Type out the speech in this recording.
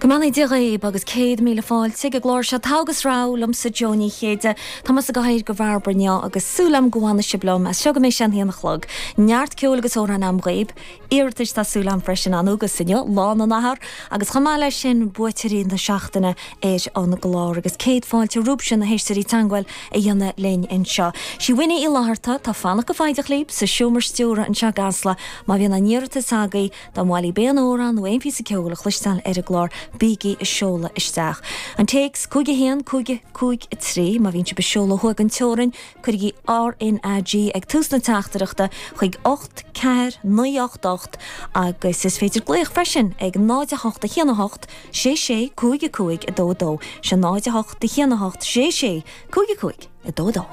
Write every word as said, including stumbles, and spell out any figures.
Go mbeannaí Dia dhaoibh agus céad míle fáilte ag an gclár seo Togha agus Rogha liomsa Jó Ní Chéide Tá mé sa gcathaoir go Bhairbre inniu agus súil agam go bhfanfaidh sibh liom as seo go mbeidh sé an haon a chlog. Neart ceoil agus amhrán agam dhaoibh, iarratais tá súil agam freisin ann agus inniu Lá na nAthar agus chomh maith leis sin buaiteoirí na seachtaine ar an gclár agus céad fáilte romhaibhse na héisteoirí teagmháil a dhéanamh linn anseo. Sí Winnie Uí Fhlatharta atá ag fanacht go foighdeach libh sa seomra stiúrtha anseo i gCasla má bhíonn aon iarratas agaibh dá mhaith libh aon amhrán nó aon phíosa ceoil a chloisteáil ar an gclár bígí ag seoladh isteach. An téacs cúig a haon cúig cúig a trí má bhíonn sibh ag seoladh thuaidh den teorainn cuirigí RNAG ag tús na teachtaireachta chuig ocht ceathair naoi ocht ocht agus is féidir glaoch freisin ag náid a hocht a haon a hocht sé sé cúig a cúig a dó dó sé náid a hocht a haon a hocht sé sé cúig a cúig a dó dó.